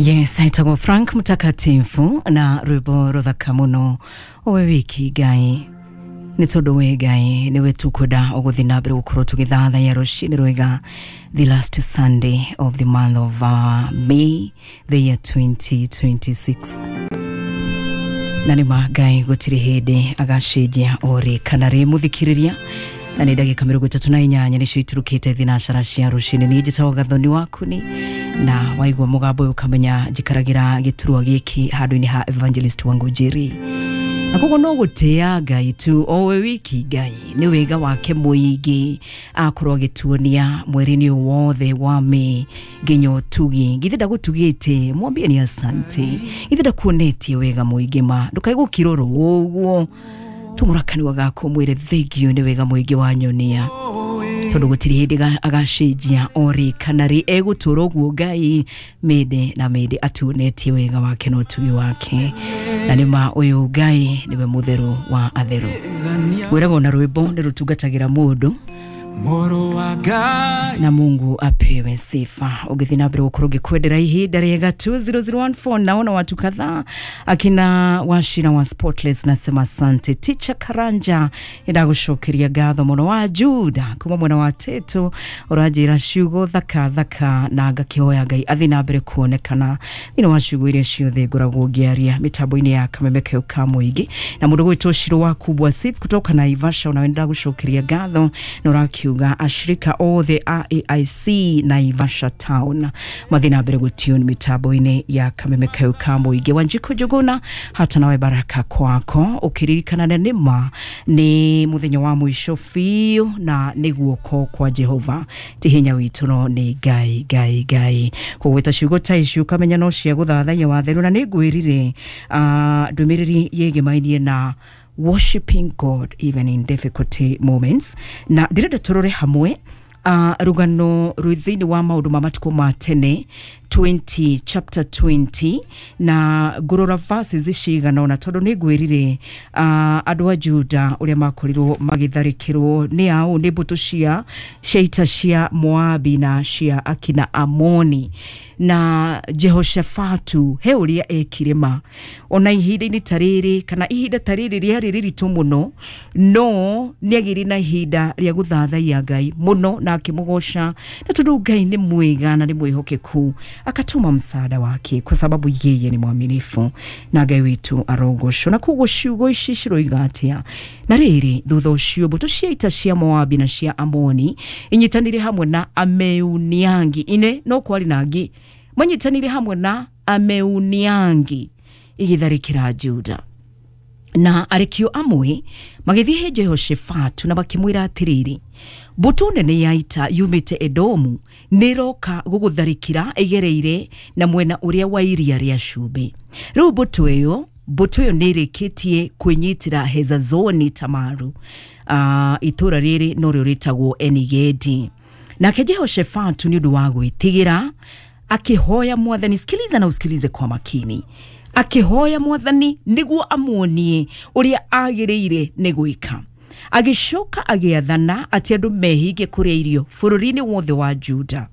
Yes, aitagwo Frank Mtakatifu na rwimbo ruthaka muno owe wiki Ngai nĩ tondũ we Ngai nĩwe tukwenda ũgũthiĩ na mbere gũkorwo tũgĩthathaiya rũcinĩ rwega, the last Sunday of the month of May, the year 2026. Na nĩ ma Ngai gũtirĩ hĩndĩ agacenjia orĩ kana rĩ mũthikĩrĩria. Na nĩ ndagĩka 38 nĩcio iturukĩte thinacara cia rũcinĩ. Niĩ njĩtagwo Gathoni Wakuni, na waigua mũgambo ũyũ ũkamenya njikaragĩra gĩturwa gĩkĩ handũ-inĩ ha Evangelist Wangũnjiri, na koguo no gũtĩa Ngai tu owe wiki. Ngai nĩ wega wake mũingĩ akorwo agĩtuonia mweri-inĩ ũyũ wothe wa May, nginya ũtugi. Githĩ ndagũtugĩte? Mwambie ni asante. Githĩ ndakuonetie wega mũingĩ? Ma ndũkae gũkirorwo ũguo, tumũra kanua gaku mwĩre thengio nĩ wega mũingĩ wa nyonia, tondũ gũtirĩ hĩndĩ agacenjia orĩ kana rĩ, egũtũra ũguo Ngai mĩndĩ na mĩndĩ atuonetie wega wake na ũtugi wake. Na nĩ ma ũyũ Ngai nĩwe mũtheru wa atheru. Wĩragwo na rwĩmbo nĩ rũtungatagĩra mũndũ Mũrũ wa Ngai. Na Mungu apewe sifa. Ũgĩthiĩ na mbere gũkorwo ngĩkwendera ihinda rĩega. 2014 naona watu kadhaa, akina Washira wa Spotless, nasema asante. Teacher Karanja, nĩndagũcokeria ngatho mũno. Wa Juda kuma mwena wa Teto, ũranjĩra ciugo thaka thaka, na ngakĩhoya Ngai athiĩ na mbere kuonekana thĩinĩ wa ciugo iria ciothe ngoragwo ngĩaria mĩtambo-inĩ ya Kameme Kayũ ka Mũingĩ. Na mũndũ gwĩtwo Shiro wa Kubwa Seeds kutoka Naivasha, unawe ndagũcokeria ngatho, na ũrakiuga ashirika othe a AIC Naivasha Town mathiĩ na mbere gũtune mĩtambo-inĩ ya Kameme Kayũ ka Mũingĩ. Wanjikũ Njũgũna, hata nawe baraka kwako, ũkĩririkana na nĩma nĩ mũthenya wa mũico biũ, na nĩ guoko kwa Jehova, ti hinya witũ, no nĩ Ngai Ngai Ngai. Kũgwĩta ciugo ta ici ũkamenya no cia gũthathaiya watheru. Na nĩ ngwĩrire ndũmĩrĩri yĩgĩmainie na worshiping God even in difficulty moments, na ndĩrenda tũrore hamwe rũgano rwĩ thĩinĩ wa Maũndũ ma Matukũ ma Tene 20, chapter 20, na ngũrora verses cigana ũna, tondũ nĩ ngwĩrire andũ a Juda ũrĩa makorirwo magĩtharĩkĩrwo nĩ ao nĩ mbũtũ cia ita cia Moabi na cia akina Amoni, na Jehoshafatu he ũrĩa ekire. Ma ona ihinda-inĩ ta rĩrĩ, kana ihinda ta rĩrĩ rĩarĩ rĩritũ mũno, no nĩ agĩire na ihinda rĩa gũthathaiya Ngai mũno na akĩmũgoca, na tondũ Ngai nĩ mwega na nĩ mwĩhokeku, akatuma msaada wake kwa sababu yeye ni mwaminifu, na Ngai witũ arogocwo. Na koguo ciugo ici ciroiga atĩa? Na rĩrĩ, thutha ũcio mbũtũ cia ita cia Moabi na cia Amoni inyitanĩire hamwe na Ameuniangi ine, no kwarĩ na angĩ manyitanĩire hamwe na Ameuniangi, igĩtharĩkĩra Juda. Na arekio amwe magĩthiĩ he Jehoshafatu na makĩmwĩra atĩrĩrĩ, mbũtũ nene ya ita yumĩte Edomu nĩroka gũgũtharĩkĩra ĩgereire na mwena ũrĩa wa Iria rĩa Cumbĩ. Rĩu mbũtũ ĩyo nĩ ĩrĩkĩtie kwĩnyitĩra Hezazoni Tamaru, itũũra rĩrĩ norĩo rĩtagwo Enigedi. Nake Jehoshafatu nĩ ũndũ wa gwĩtigĩra akĩhoya Mwathani. Sikiliza na usikilize kwa makini. Akĩhoya Mwathani nĩguo amuonie ũrĩa agĩrĩire nĩ gwĩka. Agĩcoka agĩathana atĩ andũ mehinge kũrĩa irio bũrũri-inĩ wothe wa Juda,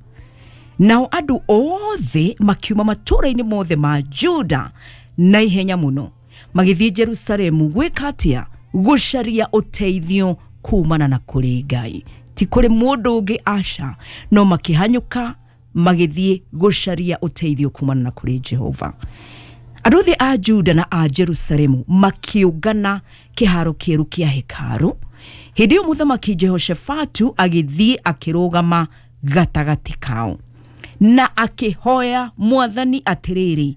nao andũ othe makiuma matũũra-inĩ mothe ma Juda na ihenya mũno magĩthiĩ Jerusalemu. Gwĩka atĩa? Gũcaria ũteithio kumana na kũrĩ Ngai, ti kũrĩ mũndũ ũngĩ, aca, no makĩhanyũka magĩthiĩ gũcaria ũteithio kumana na kũrĩ Jehova. Andũ othe a Juda na a Jerusalemu makĩũngana kĩharo kĩerũ kĩa hekarũ. Hĩndĩ ĩyo mũthamaki Jehoshafatu agĩthiĩ akĩrũgama gatagatĩ kao na akĩhoya Mwathani atĩrĩrĩ,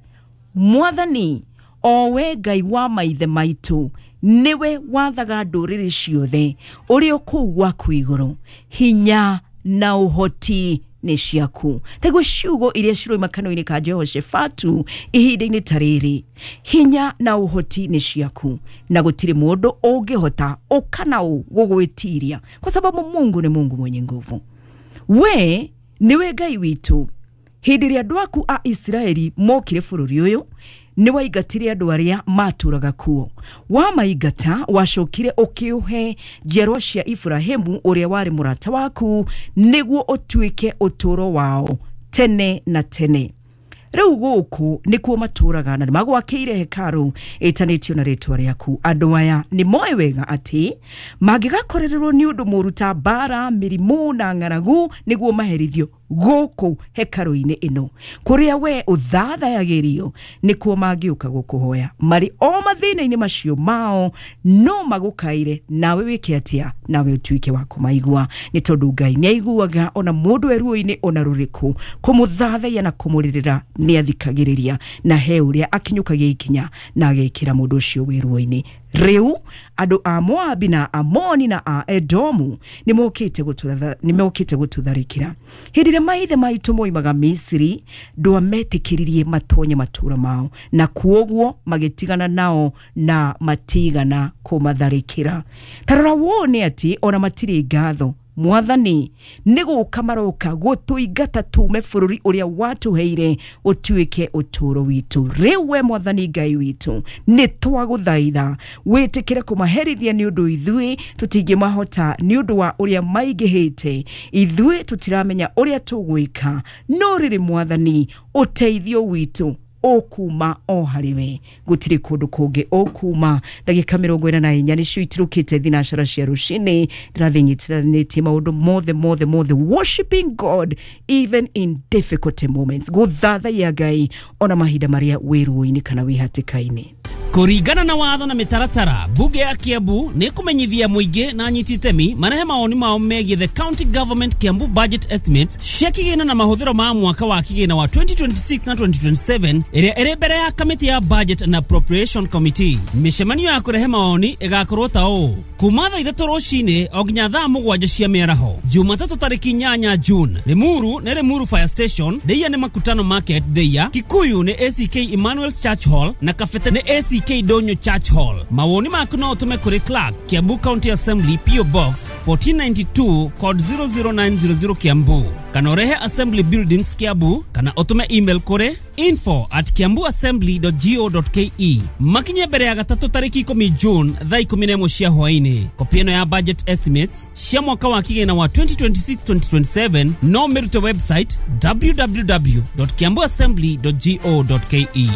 Mwathani, o we Ngai wa maithe maitũ, nĩwe wathaga ndũrĩrĩ ciothe, ũrĩ o kũu gwaku igũrũ, hinya na ũhoti nĩ ciaku. Taiguo ciugo iria ciroima kanua-inĩ ka Jehoshafatu ihinda-inĩ ta rĩrĩ: hinya na ũhoti nĩ ciaku, na gũtirĩ mũndũ ũngĩhota ũkana ũ gũgwĩtiria, kwa sababu Mungu ni Mungu mwenye nguvu. We nĩwe Ngai witũ. Hĩndĩ ĩrĩa andũ aku a Isiraeli mokire bũrũri ũyũ, nĩ waingatire andũ arĩa matũraga kuo. Wamaingata, wacokire ũkĩũhe njiarwa cia Iburahĩmu ũrĩa warĩ mũrata waku, nĩguo ũtuĩke ũtũũro wao tene na tene. Rĩu gũkũ nĩkuo matũraga na nĩmagwakĩire hekarũ ĩtanĩtio na rĩtwa rĩaku. Andũ aya nĩ moĩ wega atĩ mangĩgakorererwo nĩ ũndũ mũũru ta mbara, mĩrimũ na ng'aragu, nĩguo maherithio gũkũ hekarũ-inĩ ĩno kũrĩa we ũthathayagĩrio, nĩkuo mangĩũka gũkũhoya marĩ o mathĩna-inĩ macio mao, no magũkaire, nawe wĩke atĩa? Nawe ũtuĩke wa kũmaigua, nĩ tondũ Ngai nĩ aiguaga ona mũndũ e ruo-inĩ ona rũrĩkũ. Kũmũthathaiya na kũmũrĩrĩra nĩ athikagĩrĩria, na he ũrĩa akinyũkagia ikinya na agekĩra mũndũ ũcio wĩ ruo-inĩ. Rĩu andũ a Moabi na Amoni na a Edomu nĩmokĩte gũtũtharĩkĩra. Hĩndĩ ĩrĩa maithe maitũ moimaga Misiri, ndwametĩkĩririe matonye matũũra mao, na kuoguo magĩtigana nao na matigana kũmatharĩkĩra. Ta rora wone atĩ ona matirĩ ngatho. Mwathani, nĩ gũka maroka gũtũingata tume bũrũri ũrĩa watũheire ũtuĩke ũtũũro witũ. Rĩu we Mwathani Ngai witũ, nĩ twagũthaitha wĩtĩkĩre kũmaherithia, nĩ ũndũ ithuĩ tũtingĩmahota nĩ ũndũ wa ũrĩa maingĩhĩte. Ithuĩ tũtiramenya ũrĩa tũgwĩka, no rĩrĩ Mwathani, ũteithio witũ ũkuma o harĩ we, gũtirĩ kũndũ kũngĩ ũkuma. Ndagĩka 44 nĩcio itirũkĩte thinacara cia rũcinĩ. Ndĩrathiĩ nyitithanĩtie maũndũ mothe mothe mothe, worshiping God even in difficult moments, gũthathaiya Ngai ona mahinda marĩa wĩ ruo-inĩ kana wĩ hatĩka-inĩ. Kũringana na watho na mĩtaratara, bunge ya Kiambu nĩ kũmenyithia mũingĩ na anyiti itemi marehe mawoni mao megiĩ the county government Kiambu budget estimates cia kĩgĩna na mahũthĩro ma mwaka wa kĩgĩna wa 2026 na 2027, ĩrĩa ĩrĩ mbere ya kamĩtĩ ya budget and appropriation committee. Mĩcemanio ya kũrehe mawoni ĩgakorwo ta ũũ: kuma thaa 3 rũcinĩ o nginya thaa 7 cia mĩaraho, Jumatatũ tarĩki 8 June. Limuru nĩ Limuru Fire Station, Ndeia nĩ Makutano Market Ndeia, Kikuyu nĩ ACK Emmanuel's Church Hall na Kabete nĩ ACK Donyo Church Hall. Mawoni maku no ũtũme kũrĩ Clerk, Kiambu County Assembly, PO Box 1492, code 00900, Kiambu, kana ũrehe Assembly Buildings, Kiambu, kana ũtũme email kũrĩ info@kiambuassembly.go.ke. Makinye mbere ya gatatũ tarĩki 10 June thaa 11 cia hwaĩ-inĩ. Kopi ĩno ya budget estimates cia mwaka wa kĩgĩna wa 2026-2027 no mĩrute website www.kiambuassembly.go.ke.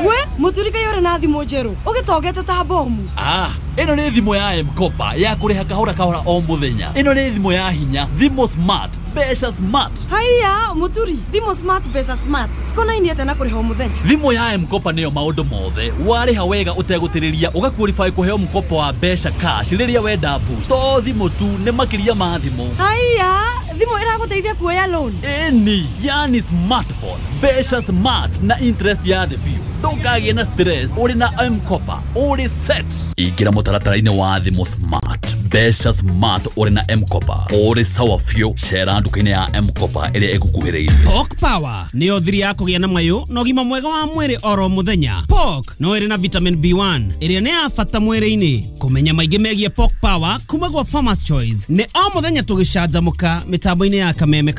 We muturika yore na thimũ njerũ ũgĩtongete ta bomu. Ah, ĩno nĩ thimũ ya M-Kopa ya kũrĩha kahora kahora o mũthenya. Ĩno nĩ thimũ ya hinya, thimũ smart, mbeca smart. Haiya mũturi, thimũ smart, mbeca smart cikonainie atĩa na kũrĩha o mũthenya? Thimũ ya M-Kopa nĩyo maũndũ mothe. Warĩha wega ũtegũtĩrĩria, ũgaqualify kũheo mkopo wa mbeca cash rĩrĩa wenda boost. To thimũ tu, nĩ makĩria ma thimũ. Haiya, thimũ ĩragũteithia kuoya loan? Ĩni, yani smartphone, mbeca smart na interest ya thĩ biũ. Ndũkagĩe na stress, ũrĩ na M-Kopa ũrĩ set. Ingĩra mũtaratara-inĩ wa thimũ smart, mbeca smart, ũrĩ na M-Kopa ũrĩ sawa biũ. Cera nduka-inĩ ya M-Kopa ĩrĩa ĩgũkuhĩrĩirie. Pork Power nĩyo thiri ya kũgĩa na mayũ na ũgima mwega wa mwĩrĩ oro mũthenya. Pork no ĩrĩ na vitamin B1 ĩrĩa nĩ ya bata mwĩrĩ-inĩ. Kũmenya maingĩ megiĩ Pork Power kuma gwa Farmers Choice nĩ o mũthenya tũgĩcanjamũka mĩtambo-inĩ ya Kameme.